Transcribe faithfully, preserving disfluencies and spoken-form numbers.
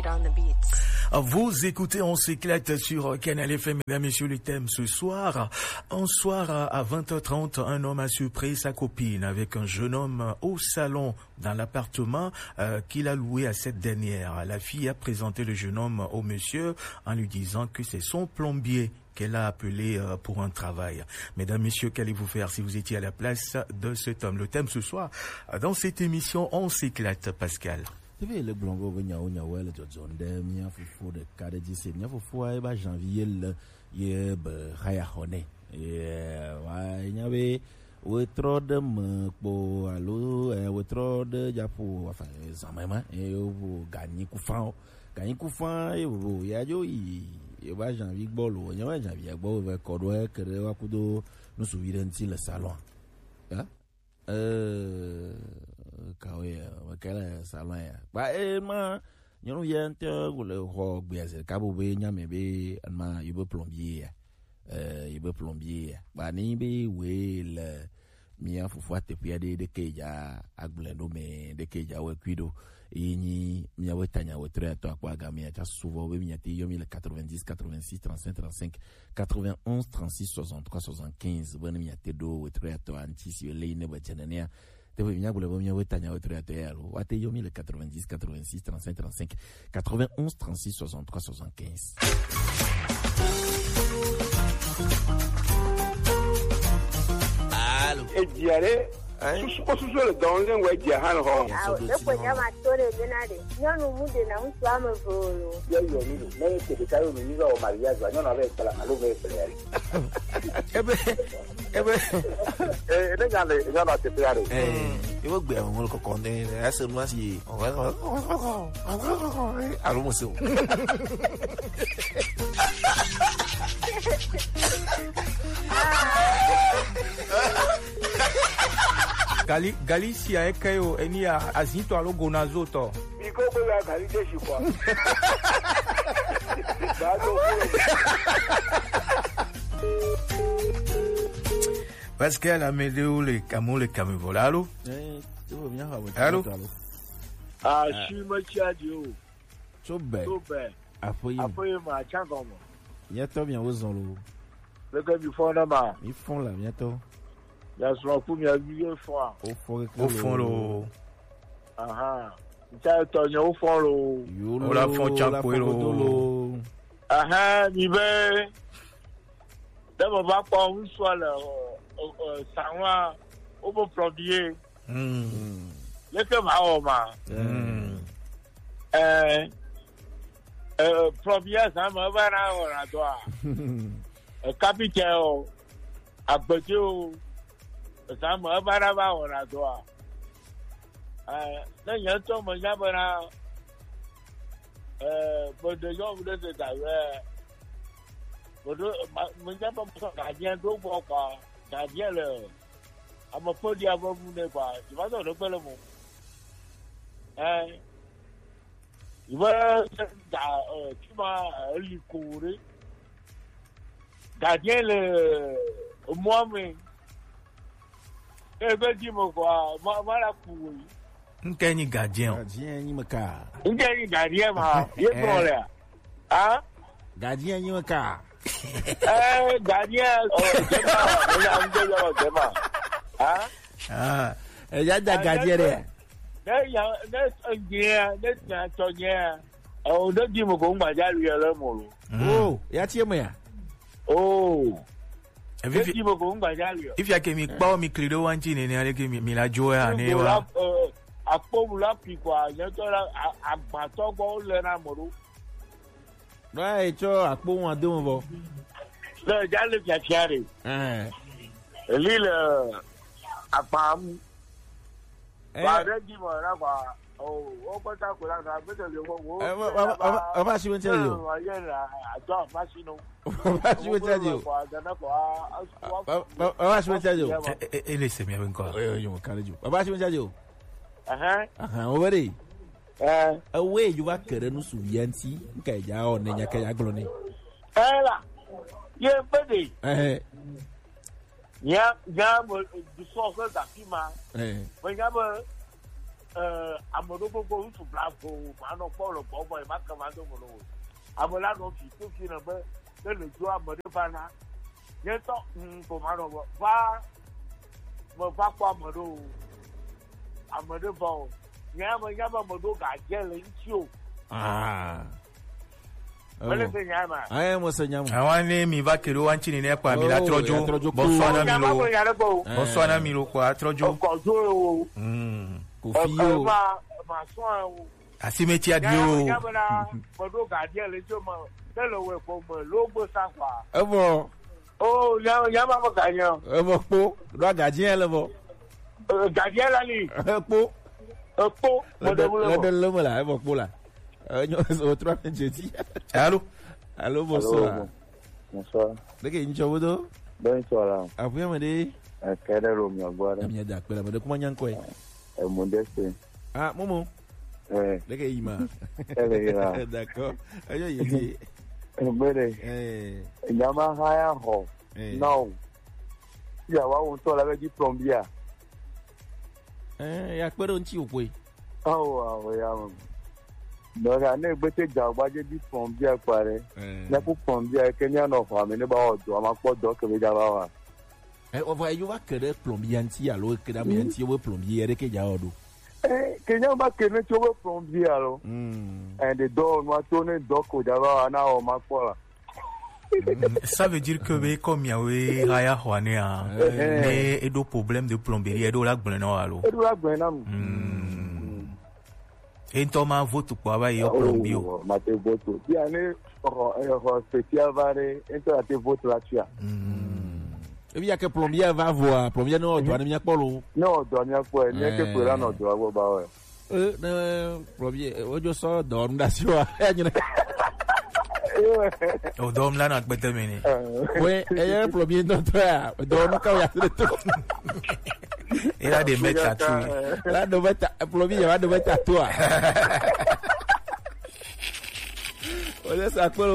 On the beats. Vous écoutez, on s'éclate sur Canal F M. Mesdames, Messieurs, le thème ce soir. Un soir à vingt heures trente, un homme a surpris sa copine avec un jeune homme au salon dans l'appartement, euh, qu'il a loué à cette dernière. La fille a présenté le jeune homme au monsieur en lui disant que c'est son plombier qu'elle a appelé, euh, pour un travail. Mesdames, Messieurs, qu'allez-vous faire si vous étiez à la place de cet homme ? Le thème ce soir, euh, dans cette émission, on s'éclate, Pascal. Tebe le gblɔ go be nyawo nyawo le dzɔdzɔm ɖe mía fofo ɖeka ɖe dzi se. Mía fofoa ye ba janvier le ye be haya xɔ nɛ. Ye wa nya be wetrɔ ɖe me kpo alo, eh, wetrɔ ɖe dzaƒo, enfin, zame ma, ye wo ganyi kufa o. Ganyi kufa ye vovo ya dzo yi ye ba janvier gbɔ lo. Nyawo janvier gbɔ ve kɔ ɖo ke ɖe wa kudo nusuvi ɖe ŋuti le salon. Ya? Eh, kawo ya, mekele salon ya. Ba, eh, ma, nyɔnu ya ŋutɔ le xɔ gbea zi ɖeka bo be nya me be ma yi be plombier ya. Eh, yi be plombier ya. Ba, ni be we le mía fofoa teƒe aɖe ɖeke dza agblẽ ɖo me, ɖeke dza wɔe kui ɖo. Yi nyi míawo tanya wetri atɔ akpɔ agame ya tsa suvɔ be mía te yɔ mi le quatre-vingt-dix, quatre-vingt-six, trente-cinq, trente-cinq, quatre-vingt-onze, trente-six, soixante-trois, soixante-quinze, be ne mía te ɖo wetri atɔ anti si le yi ne be dze nenea. Teƒe mía gblɔ be míawo tanya wetri atɔ ya lo. Wa te yɔ mi le quatre-vingt-dix, quatre-vingt-six, trente-cinq, trente-cinq, quatre-vingt-onze, trente-six, soixante-trois, soixante-quinze. Alo. Edzia ɖe. Hein? Susu, kpɔ susu le dɔn le ŋgɔ edzia hã le xɔ. Awo, ne ko nya ma to ɖe dena ɖe. Nyɔnu mu ɖe na ŋutsu ame eve o lo. Ye yɔ mi lo. Ne te ɖeka yɔ mi, mi va wɔ mariage va, nyɔnu ave kpla alo me kpla ya ɖe. Ebe, ebe. Eh, ne nya le, nyɔnu a te kpla ɖe. Eh, ebe gbe ame mo kɔkɔ ne, ese nu asi. Alo mo se o. Gali, gali sia eke yo, eni ya, azitɔ alo gonazo tɔ. Mi ko ko ya gali de shi kwa. Ba do ko. Parce que la météo, le camo, le camion, voilà, allô? Eh, tu veux bien avoir. Allô? Allô? Ah, je suis Mathieu Adio. Tso bɛ. Tso bɛ. Aƒe yi me. Aƒe yi me, atsã gɔme. Míatɔ miawo zɔn lo. Leke mi fɔ na ma? Mi fɔ la míatɔ. Mia srɔ̃ ku mia vi ye fɔa? Wo fɔ keke lo. Wo fɔ lo. Ahan. Ntsa etɔ nye wo fɔ lo. Yo lo, wo la fɔ tsa koe lo. Aha, mi be. Ne me va kpɔ ŋutsua le, ɔ, ɔ, ɔ, salon-a, wo be plombier. Mm. Leke ma wɔ ma? Mm. Eh, eh, plombier zã me eva na wɔna dɔa? Eh, kapitɛ o, agbedze o, zã me eva na va wɔna dɔa? Eh, ne nye ŋutɔ menya bena, eh, meɖe nyɔnu ɖe de da yɔe, meɖo, ma-, menya be mesɔ gardien ɖo gbɔ kɔa, gardien le ame ƒe ɖia ƒe nu nɛ kɔa, dzivatɔ ɖe gbe le mo. Ɛ, yi be da, ɛ, fi ma, ɛ, eli ko ɖe. Gardien le emɔa me. Ebe dzi me kɔa, ma, ma la ku wo yi. Nke nyi gardien o. Gardien nyi me ka. Nke nyi gardien ma, ye gblɔ lea? Ah? Gardien nyi me ka. Eh, gardien, oh, dema, me ya ŋde yɔ dema. Ah? Ah, e ya da gardien ɖe. Ne ya, ne ŋdea, ne nya tɔ nya, oh, ne di mo ko ŋgba ja lu ya le mo lo. Mm. Oh, ya tie me ya. Oh. Efi-, ne di mo ko ŋgba ja lu ya. Ifia ke mi kpɔ mi kli ɖo wa ŋti nene ale ke mi, mi la dzo ya ne wa. Eh, akpo mu la pi kwa, nya tɔ la, a-, agbatɔ gbɔ le na mo ɖo. Ɖo etsɔ akpo ŋua do me vɔ. Le dza le fiafia ɖe. Ɛɛ. Eli le akpa mu. Ɛɛ. Ba ɖe dzi me na kpa. O, wo kpata ko la ka, gbete le wo, wo. Ɛ, wa, wa, wa, wa, wa, si wo ŋtɛ le o. Wa ye la, ato afa si no. Wa, wa, si wo ŋtɛ le o. Wa, wa, wa, wa, si wo ŋtɛ le o. Ɛ, ɛ, ɛ, ele se mi ŋkɔ. Ɛ, ɛ, yo, ka le jo. Wa, wa, si wo ŋtɛ le o. Ɛhɛn. Ɛhɛn, wo be ɖe. Ɛ. Ewoe dzo va ke ɖe nu su via ŋuti, ŋka dza wɔ ne nya ka dza gblɔ nɛ. Ɛ la, ye be ɖe. Ɛhɛ. Nya, nya me, du sɔ ke gafi ma. Ɛ. Me nya be, eh, ame ɖo gbogbo ŋutsu blaeve o, ma nɔ kpɔ le gbɔ vɔ, ma ke ma do mo ɖo o. Ame la nɔ fi to fi ne be, ne le dzo ame ɖe va na, nye tɔ, mm, ko ma nɔ va, me va kpɔ ame ɖo o. Ame ɖe va o. Nye ame, nye ame me ɖo ga dze le ŋuti o. Ah. Mele se nya ma. Aye mo se nya mo. Awa ne mi va keɖo wa ŋtsi nene kpa mi la trɔ dzo. Bɔsɔ na mi lo. Nya ma ko nya ɖe gbɔ o. Bɔsɔ na mi lo kpa trɔ dzo. Kɔ dzo o. Mm. Ko fi o. Ma, ma sɔn o. Asimeti adi o. Nya bena, meɖo gadia le tso me, ne le wɔ ko me, lo gbe sa kpa. Evɔ. O, nya, nya ma ko ganya. Evɔ kpo, ɖo gadia le vɔ. Eh, gadia la li. Kpo. Ekpo, le de, meɖe le me la, evɔ kpo la. Eh, nyo, o trɔ ne dze dzi. Allô? Allô, bonsoir. Allô, bonsoir. Ɖeke ŋtsɔ wo do? Bonsoir la. Aƒe me ɖe? Eke ɖe lo mia gbɔ ɖe. Mia da kpe la, me ɖe kuma nya ŋkɔe. Emu ɖe se. Ah, Momo. Eh. Ɖeke yi ma. Ele yi la. D'accord. Ayo yi di. Ebe ɖe. Eh. Nyama ha ya xɔ. Eh. Na o. Ya wa wo ŋutɔ la be di plombier. Eh, ya kpe ɖe ŋuti wòkpɔe. Awo, awo, ya me. Dɔka ne gbete dza gbadze di plombier kpa ɖe. Eh. Ne ku plombier ke mia nɔ xɔ ame ne ba wɔ dɔ, ama kpɔ dɔ ke be dza va wa. Eh, o va yo va ke ɖe plombier ŋuti alo ke ɖe ame ŋuti wo plombier ɖe ke dza wɔ ɖo. Eh, ke nya ba ke ne tso be plombier alo. Mm. Eh, de dɔ nua to ne dɔ ko dza va wa na o ma kpɔ la. Mm, ça veut dire que be comme miawe haya hwane a, eh, ne eɖo problème de plomberie, eɖo la gblẽ na alo? Eɖo la gblẽ na. Mm. Ento ma vote kpɔ ava yi plombier o. Ma te vote. Bia ne ho, eh, ho spécial va ɖe, ento la te vote la tia. Mm. Ebi ya ke plombier va voa, plombier no dɔ ne mia kpɔ lo. No dɔ mia kpɔ, ne ke ko la no dɔ agbo ba we. Eh, ne plombier, eh, wodzo sɔ dɔwɔnu ɖe asi wa, eya nyina. O dɔwɔnu la nɔ akpete me ne. Oui, eye plombier ŋutɔ ya, dɔwɔnu ka ya se to. Ela de meta tu. La do meta, plombier ya do meta to a. O le sa kpɔ